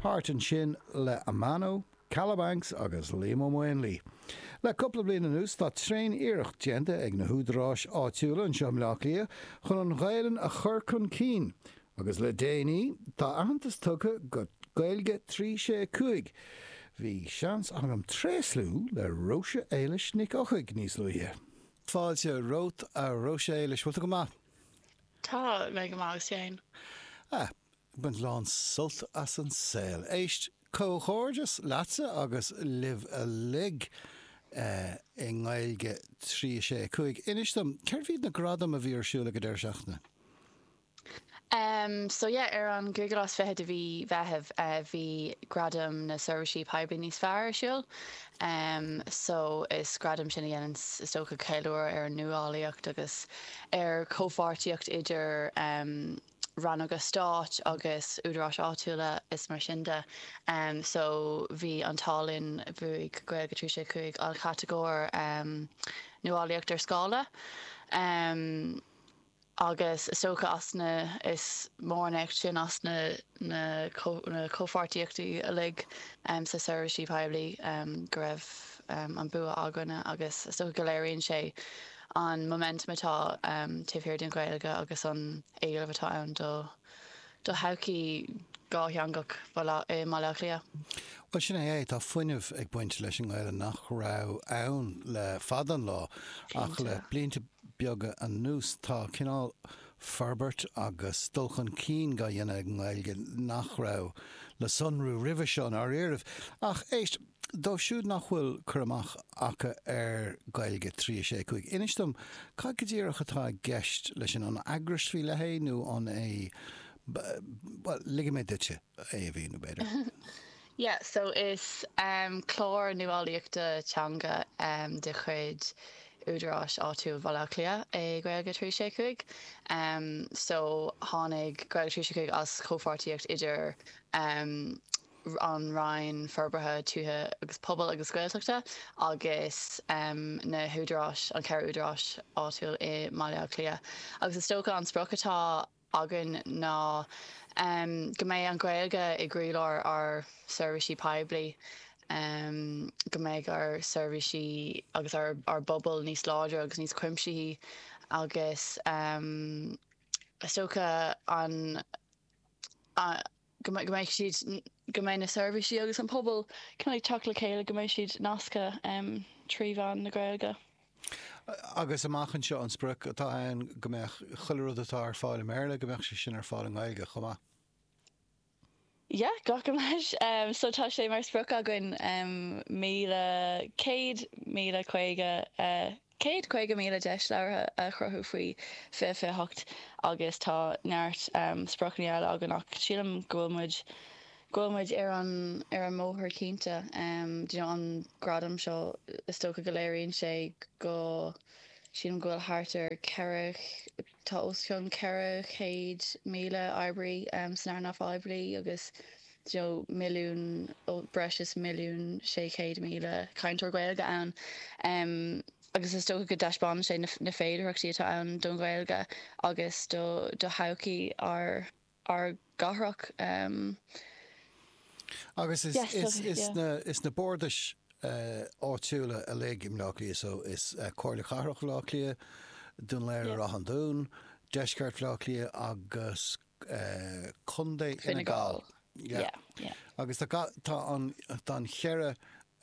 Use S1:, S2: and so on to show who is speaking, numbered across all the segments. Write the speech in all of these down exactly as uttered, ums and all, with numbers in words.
S1: Thart ansin le Amano, Kalabanx agus Liam Ó Maonlaí. Le cúpla bliain anuas tá tréan-iarracht déanta ag na húdaráis áitiúla anseo i mBleá Cliath chun an Ghaelainn a chur chun cinn agus le déanaí tá aitheantas tugtha do Gaeilge trí sé cúig. Bhí seans agam tréaslú le Róise Éilis Nic Eochaidh níos luaithe. Fáilte romhat a Róise Éilis, bhfuil tú go maith?
S2: Tá mé go maith féin.
S1: Ah, baint lán sult as an saol. Éist comhghairdeas leatsa agus libh uilig uh, i nGaeilge trí sé cúig. Inis dom, céard iad na gradaim a bhí ar siúl ag an deireadh seachtaine?
S2: Um, so yeah, ar an gcúigiú lá is fiche de mhí Mheithimh uh, bhí gradam na seirbhísí poiblí níos fearr ar siúl. Um, so is gradam sin a dhéanann is dócha ceiliúradh ar an nuálaíocht agus ar chomhpháirtíocht idir um, rannóga stáit agus údaráis áitiúla is mar sin de. Um, so bhí an t-ádh linn bhuaigh Gaeilge trí sé cúig an chatagóir um, nuálaíocht ar scála. Um, agus is dócha as na is mór sin as na na, na comhpháirtíochtaí uilig um, sa seirbhísí poiblí um, go raibh um, an bua againne agus is dócha go léiríonn sé an momentum atá um, taobh thiar den Ghaeilge agus an éileamh atá ann do do thodhchaí dhátheangach i mBaile Átha Cliath.
S1: Well sin é tá fuinneamh ag baint leis an nGaeilge nach raibh ann le fada an lá ach le blianta beaga anuas tá cineál forbairt agus dul chun cinn á dhéanamh ag an nGaeilge nach raibh le sonrú roimhe seo ar ariamh. Ach éist, dóibh siúd nach bhfuil cur amach acu ar Gaeilge trí sé cúig. Inis dom cad go díreach atá i gceist leis an an eagras faoi leith nó an é well, ligfidh mé duitse é a mhíniú b'fhéidir.
S2: Yeah, so is um, clár nuálaíochta teanga um, de chuid údaráis áitiúil Bhaile Átha Cliath é Gaeilge trí sé cúig. Um, so tháinig Gaeilge trí sé cúig as comhpháirtíocht idir um, an Roinn Forbartha Tuaithe agus Pobail agus Gaeltachta agus um, na húdaráis an ceithre údarás áitiúil i mBaile Átha Cliath. Agus is dócha an sprioc atá againn ná um, go mbeidh an Ghaeilge i gcroílár ár seirbhísí poiblí. Um, go mbeidh ár seirbhísí agus ár, ár bpobal níos láidre agus níos cuimsithí agus um, is dócha an a, go mbeidh siad go mbeidh na seirbhísí agus an pobal chun teacht le chéile go mbeidh siad nasctha um, trí mheán na Gaeilge.
S1: Agus amach anseo an sprioc atá ann go mbeadh chuile rud atá ar fáil i mBéarla go mbeadh sé sin ar fáil i nGaeilge chomh maith.
S2: Yeah, glacaim leis. Um, so tá sé mar sprioc againn um, míle céad míle caoga uh, céad caoga míle deis labhartha a chruthú faoi fiche fiche hocht agus tá neart um, spriocanna eile againn ach sílim go bhfuil muid go bhfuil muid ar an ar an mbóthar cinnte um, you know, an gradam seo is dócha go léiríonn sé go sílim go bhfuil thart ar ceithre tá os cionn ceithre chéad míle oibrí um, san earnáil phoiblí agus you know, milliún breis is milliún sé chéad míle cainteoir Gaeilge ann. Um, agus is dócha go dtaispeánann sé na, na féidearthachtaí atá ann don Ghaeilge agus do do thodhchaí ár ár gcathrach. Um,
S1: Agus is,
S2: yes,
S1: is,
S2: so,
S1: is,
S2: yeah.
S1: na, is na bardais uh, áitiúla uilig i mBleá Cliath so is uh, Comhairle Cathrach Bhaile Átha Cliath, Dún Laoghaire
S2: Yeah.
S1: Ráth an Dúin, Deisceart Bhaile Átha Cliath agus uh, Contae Fine
S2: Fine
S1: Gall.
S2: Gall.
S1: Yeah.
S2: Yeah, yeah.
S1: Agus tá ga- tá an tá an cheithre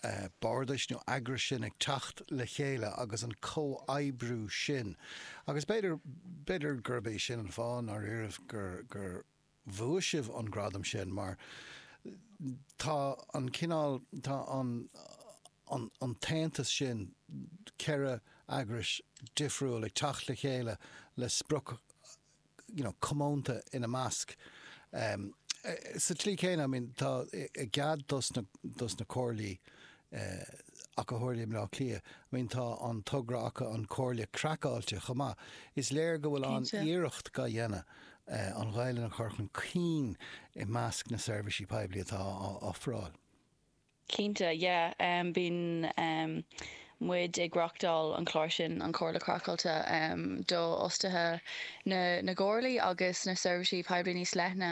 S1: uh, bardais nó eagrais sin ag teacht le chéile agus an comhoibriú sin. Agus b'fhéidir b'fhéidir gurb é sin an fáth ar éirigh gur gur bhuaigh sibh an gradam sin mar tá an cineál tá an an, an t-aontas sin ceithre eagrais difriúil ag teacht le chéile le sprioc you know, comónta ina measc. Um, eh, sa tslí céanna, I mean, tá i gcead dos na, dos na comhairlí eh, ach go háirithe i mBleá Cliath, I mean, tá an togra acu an Comhairle Craiceáilte chomh maith. Is léir go bhfuil an
S2: Cinnte.
S1: iarracht á dhéanamh eh, an Ghaeilge a chur chun cinn i measc na seirbhísí poiblí atá á ofráil.
S2: Cinnte, yeah, um, bíonn um, muid ag reáchtáil an clár sin, an Chomhairle Craiceáilte, do fhostaithe na na gcomhairlí agus na seirbhísí poiblí níos leithne.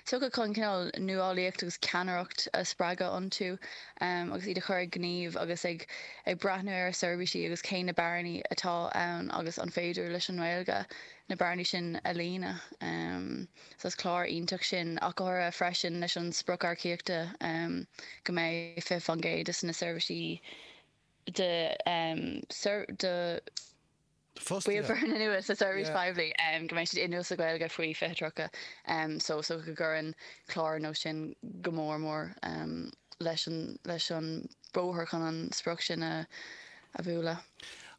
S2: Is dócha chun cineál nuálaíocht agus ceannaireacht a spreagadh iontu agus iad a chur ag gníomh agus ag ag breathnú ar a seirbhísí agus cé na bearnaí atá ann agus an féidir leis an nGaeilge na bearnaí sin a líonadh. So is clár iontach sin ach go háirithe freisin leis an sprioc earcaíochta go mbeidh fiche faoin gcéad de na seirbhísí de de bhaill foirne nua sa tseirbhís phoiblí go mbeidh siad inniúil sa Ghaeilge faoi fiche tríocha. So is dócha go gcuireann clár ar nós sin go mór mór leis an leis an bóthar chun an sprioc sin a a bhualadh.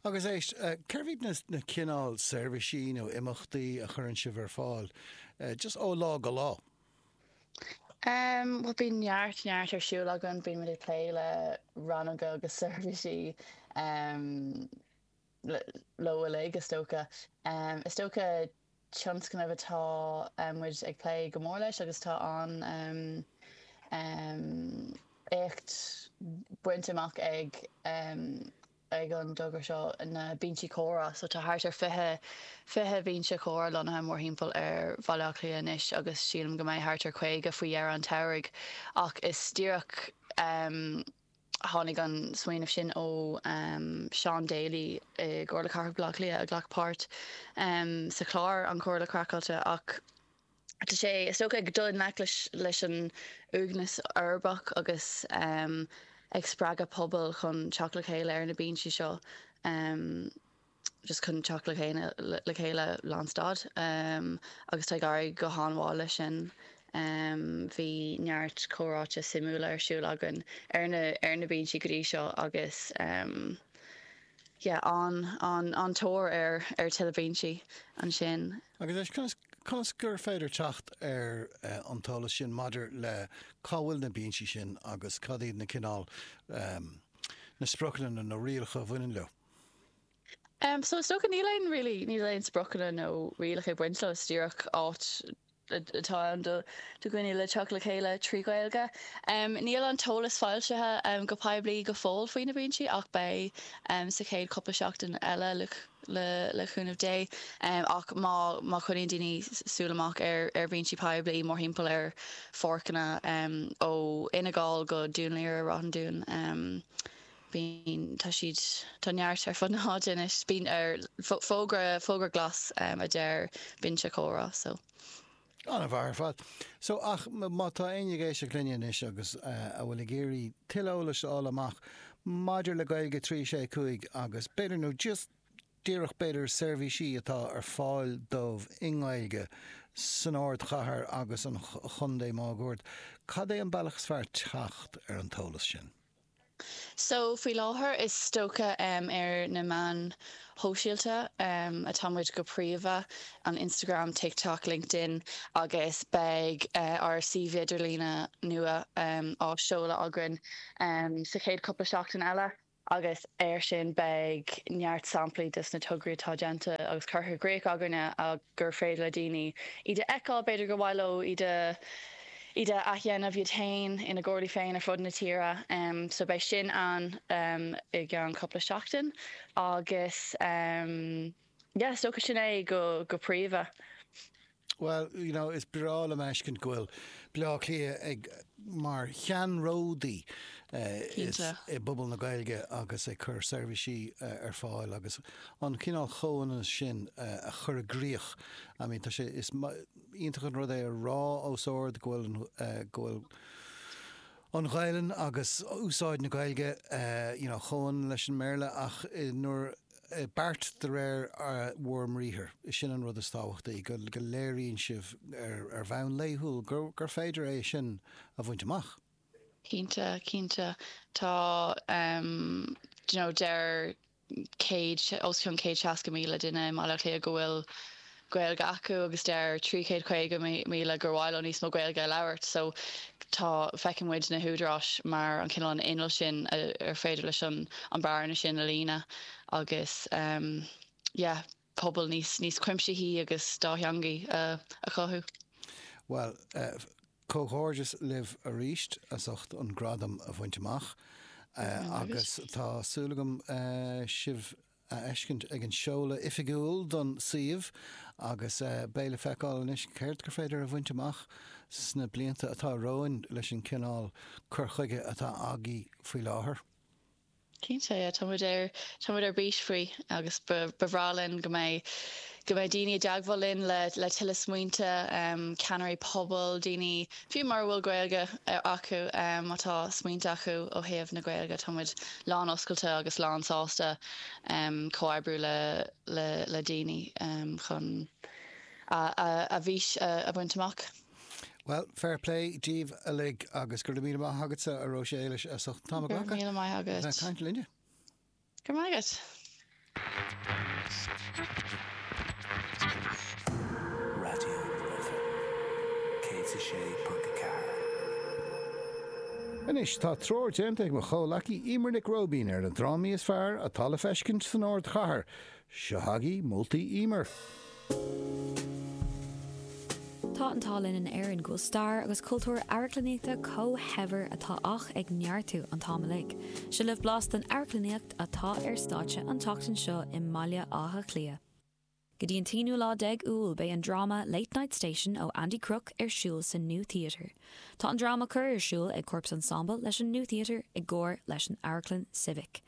S1: Agus éist, cérbh iad na cineál seirbhísí nó imeachtaí a chuireann sibh ar fáil just ó lá go lá?
S2: Bhuel, bíonn neart, neart ar siúl againn. Bíonn muid ag plé le rannóga agus seirbhísí leo uilig, is dócha. Is dócha tionscnamh atá muid ag plé go mór leis agus tá an éacht bainte amach ag ag an dtogra seo na binsí comhrá. So tá thart ar fiche, fiche binse comhrá lonnaithe mórthimpeall ar Bhaile Átha Cliath anois agus sílim go mbeidh thart ar caoga faoi dheireadh an tsamhraidh. Ach is díreach tháinig an smaoineamh sin ó Seán Daly i gComhairle Cathrach Bhaile Átha Cliath a ghlac páirt sa chlár An Chomhairle Craiceáilte ach tá sé, is dócha, ag dul i ngleic leis an uaigneas uirbeach agus ag spreagadh pobail chun teacht le chéile ar na binsí seo, just chun teacht le le chéile lánstad agus tá ag éirí go han-mhaith leis sin. Bhí neart comhráite suimiúla ar siúl againn ar na ar na binsí go dtí seo agus yeah, an an an tóir ar ar tuilleadh binsí ansin.
S1: Agus éist, conas conas gur féidir teacht ar an t-eolas sin maidir le cá bhfuil na binsí sin agus cad iad na cineál na spriocanna nó na rialacha a bhaineann leo?
S2: Um, so is dócha níl aon really níl aon spriocanna nó rialacha ag baint leo, is díreach áit atá ann do dhaoine le teacht le chéile trí Ghaeilge. Níl an t-eolas foilsithe go poiblí go fóill faoi na binsí ach beidh sa chéad cúpla seachtain eile le cúnamh Dé. Ach má má choinníonn daoine súil amach ar ar bhinsí poiblí mórthimpeall ar pháirceanna ó Fhine Gall go Dún Laoghaire Ráth an Dúin, bíonn tá siad tá neart ar fud na háite anois. Bíonn ar fógra fógra glas a deir binse comhrá so.
S1: An-mhaith ar fad. So, ach má tá éinne ag éisteacht linne anois agus a bhfuil ag iarraidh tuilleadh eolais a fháil amach maidir le Gaeilge trí sé cúig agus b'fhéidir nó just díreach b'fhéidir seirbhísí atá ar fáil dóibh i nGaeilge san ardchathair agus an chontae máguaird, cad é an bealach is fearr teacht ar an t-eolas sin?
S2: So, faoi láthair, is dócha ar na meáin shóisialta atá muid go príomha, an Instagram, TikTok, LinkedIn, agus beidh ár suíomh idirlíne nua á seoladh againn sa chéad cúpla seachtain eile. Agus air sin beidh neart samplaí des na tograí atá déanta agus curtha i gcrích againne gur féidir le daoine iad a fheiceáil, b'fhéidir gur mhaith leo iad a iad a athdhéanamh iad féin ina gcomhairlí féin ar fud na tíre. So beidh sin ann i gceann cúpla seachtain agus yeah, is dócha sin é go go príomha.
S1: Bhuel, you know, is breá liom a fheiscint go bhfuil Baile Átha Cliath ag mar cheannródaí i bpobal na Gaeilge agus ag cur seirbhísí ar fáil agus an cineál comhionannas sin a chur i gcrích. I mean, tá sé, is iontach an rud é a rá os ard go bhfuil an, go bhfuil an Ghaelainn agus úsáid na Gaeilge you know chomhionann leis an mBéarla ach nuair beart de réir bhur mbriathar, sin an rud is tábhachtaí, go go léiríonn sibh ar ar bhonn laethúil gur gur féidir é sin a bhaint amach.
S2: Cinnte, cinnte. Tá do you know deir céad, os cionn céad seasca míle duine i mBaile Átha Cliath go bhfuil Gaeilge acu agus deir trí chéad caoga míle gur mhaith leo níos mó Gaeilge a labhairt. So tá, feiceann muid na húdaráis mar an cineál an inneall sin ar féidir leis an an bearna sin a líonadh agus yeah pobal níos níos cuimsithí agus dátheangaí a a chothú.
S1: Bhuel, comhghairdeas libh arís as ucht an gradam a bhaint amach Agus tá súil agam sibh a fheiscint ag an seoladh oifigiúil don suíomh agus beidh le feiceáil anois céard gur féidir a bhaint amach sna blianta atá romhainn leis an cineál cur chuige atá agaibh faoi láthair.
S2: Cinnte tá muid ar tá muid ar bís faoi agus ba bhreá linn go mbeidh go mbeidh daoine i dteagmháil linn le le tuilleadh smaointe um, ceannairí pobail, daoine fiú mura bhfuil Gaeilge acu um, má tá smaointe acu ó thaobh na Gaeilge tá muid lán oscailte agus lán sásta um, comhoibriú le le le daoine um, chun a, a, a bhfís a, a bhaint amach.
S1: Well, fair play díobh uilig agus go raibh míle maith agatsa a Róise Éilis as ucht an t-am
S2: Míle maith agat.
S1: Caint linne.
S2: Go maith agat.
S3: Raidió na Life céad a sé ponc a ceathair.
S1: Anois tá treoir déanta ag mo chomhghleacaí Emer Nic Róibín ar na drámaí is fearr atá le feiscint san ardchathair. Seo chugaibh moltaí Emer.
S4: Tá an t-ádh linn in Éirinn go bhfuil stair agus cultúr amharclannaíochta chomh shaibhir atá ach ag neartú an t-am uilig. Seo libh blas den amharclannaíocht atá ar stáitse an tseachtain seo i mBaile Átha Cliath. Go dtí an t-aonú lá déag Iúil beidh an dráma Late Night Station ó Andy Crook ar siúl sa New Theatre. Tá an dráma curtha ar siúl ag Corps Ensemble leis an New Theatre i gcomhar leis an Amharclann Civic.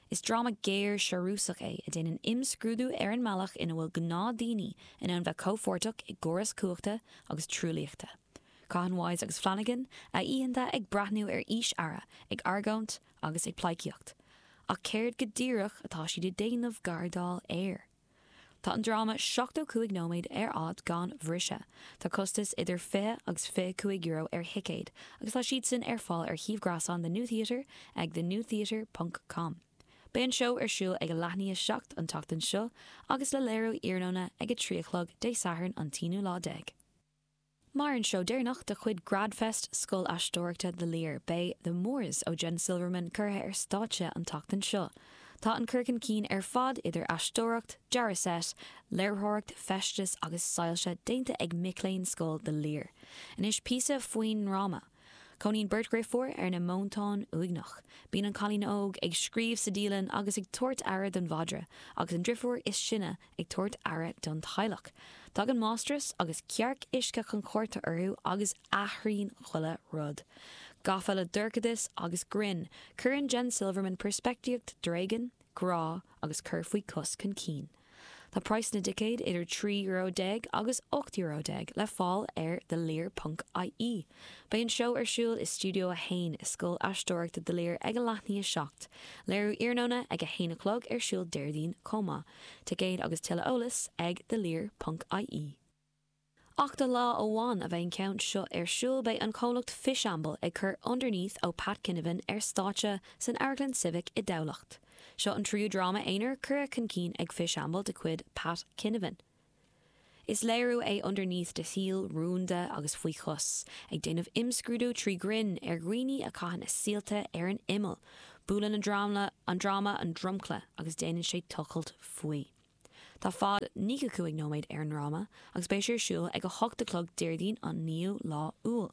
S4: Is dráma géar searúsach é a dhéanann imscrúdú ar an mbealach ina bhfuil gnáthdhaoine in ann bheith comhpháirteach i gcóras cumhachta agus truaillíochta. Caitheann Wise agus Flanagan a oícheanta ag breathnú ar fhís-aire, ag argóint agus ag pleidhcíocht. Ach céard go díreach atá siad ag déanamh gardáil air. Tá an dráma seachtó cúig nóiméad ar fhad gan bhriseadh. Tá costas idir fiche agus fiche cúig euro ar thicéid, agus tá siad sin ar fáil ar shuíomh gréasáin The New Theatre ag thenewtheatre.com. Beidh an seó ar siúl ag a leath i ndiaidh a seacht an tseachtain seo agus le léiriú iarnóna ag a trí a chlog Dé Sathairn an t-aonú lá déag. Mar an seó deireanach de chuid Gradfest Scoil Aisteoireachta The Lir, beidh The Moors ó Jen Silverman curtha ar stáitse an tseachtain seo. Tá an cur chun cinn ar fad idir aisteoireacht, dearadh seit, léiritheoireacht, feisteas agus soilse déanta ag mic léinn Scoil The Lir. Anois píosa faoin ndráma. Cónaíonn beirt dheirfiúr ar na móntáin uaigneach. Bíonn an cailín óg ag scríobh sa dialann agus ag tabhairt aire don mhadra, agus an deirfiúr is sine ag tabhairt aire don teaghlach. Tagann máistreás agus cearc uisce chun cuairte orthu agus athraíonn chuile rud. Gafa le dorchadas agus grinn, cuireann Jen Silverman peirspictíocht tréigean, grá agus cur faoi chos chun cinn. Tá praghas na dticéad idir trí euro déag agus ocht euro déag le fáil ar thelir.ie. Beidh an seó ar siúl i Studio a haon i Scoil Aisteoireachta The Lir ag a leath i ndiaidh a seacht. Léiriú iarnóna ag a haon a chlog ar siúl Déardaoin chomh maith. Ticéid agus tuilleadh eolais ag thelir.ie. Ach do lá amháin a bheidh an ceann seo ar siúl beidh an comhlacht Fishamble ag cur Underneath ó Pat Kinevane ar stáitse san Amharclann Civic i dTamhlacht. Seo an tríú dráma aonair curtha chun cinn ag Fishamble de chuid Pat Kinevane. Is léiriú é Underneath de shaol rúnda agus faoi chos, ag déanamh imscrúdú trí ghrinn ar dhaoine a chaitheann a saolta ar an imeall. Buaileann an dráma an dráma an dromchla agus déanann sé tochailt faoi. Tá fad nócha cúig nóiméad ar an dráma agus beidh sé ar siúl ag a hocht a chlog Déardaoin an naoú lá Iúil.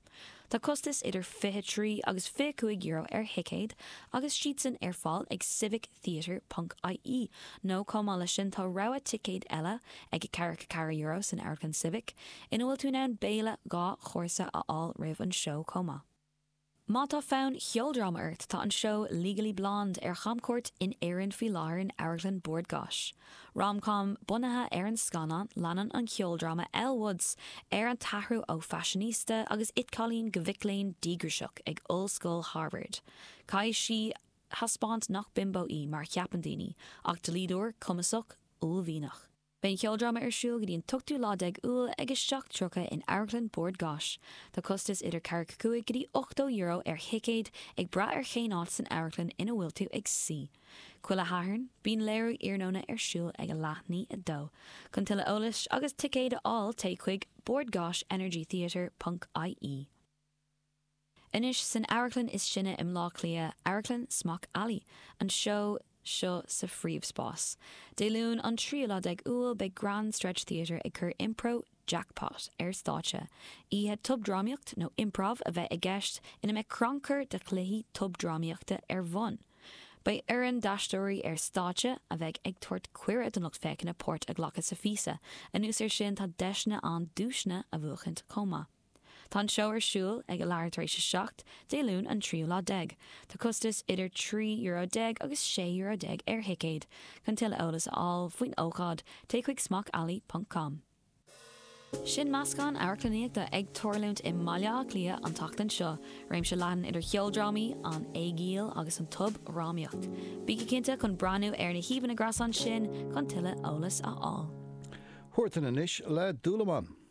S4: Tá costas idir fiche trí agus fiche cúig euro ar thicéid agus siadsan ar fáil ag civictheatre.ie nó chomh maith leis sin tá rogha ticéad eile ag ceathracha ceathair euro san Amharclann Civic ina bhfuil tú in ann béile dhá chúrsa a fháil roimh an seó chomh maith. Má tá fonn cheoldráma ort tá an seó Legally Blonde ar chamcuairt in Éirinn faoi láthair in Amharclann Bord Gáis. Romcom bunaithe ar an scannán leanann an ceoldráma Elle Woods ar an t-athrú ó fashionista agus it-chailín go mic léinn díograiseach ag Ollscoil Harvard. Caithfidh sí taispeáint nach bimbo í mar cheapann daoine, ach dlíodóir cumasach uaillmhianach. Beidh an ceoldráma ar siúl go dtí an t-ochtú lá déag Iúil ag a seacht tríocha in Amharclann Bord Gáis. Tá costas idir ceathracha cúig go dtí ochtó euro ar thicéad ag brath ar cén áit san amharclann ina bhfuil tú ag suí. Chuile Shatharn, bíonn léiriú iarnóna ar siúl ag a leath i ndiaidh a dó. Chun tuilleadh eolais agus ticéid a fháil téigh chuig bordgaisenergytheatre.ie. Anois san amharclann is sine i mBleá Cliath, Amharclann Smock Alley, an seó seo sa phríomhspás. Dé Luain an tríú lá déag Iúil beidh Grand Stretch Theatre ag cur Impro Jackpot ar stáitse. Oíche tobdrámaíocht nó improv a bheidh i gceist ina mbeidh crannchur de chluichí tobdrámaíochta ar bun. Beidh foireann d'aisteoirí ar stáitse a bheidh ag tabhairt cuireadh don lucht féachana páirt a ghlacadh sa phíosa. Anuas air sin tá deiseanna ann duaiseanna a bhuachaint chomh maith. Tá an seó ar siúl ag a leathuair tar éis a seacht, Dé Luain an tríú lá déag. Tá costas idir trí euro déag agus sé euro déag ar thicéad. Chun tuilleadh eolas a fháil faoin ócáid, téigh chuig smockalley ponc com. Sin meascán amharclannaíochta ag tarlúint i mBaile Átha Cliath an tseachtain seo, réimse leathan idir cheoldrámaí, an éigíl agus an tobdhrámaíocht. Bígí cinnte chun breathnú ar na híomhánna gréasáin sin chun tuilleadh eolas a fháil.
S1: Huartan anois le Dúlamán.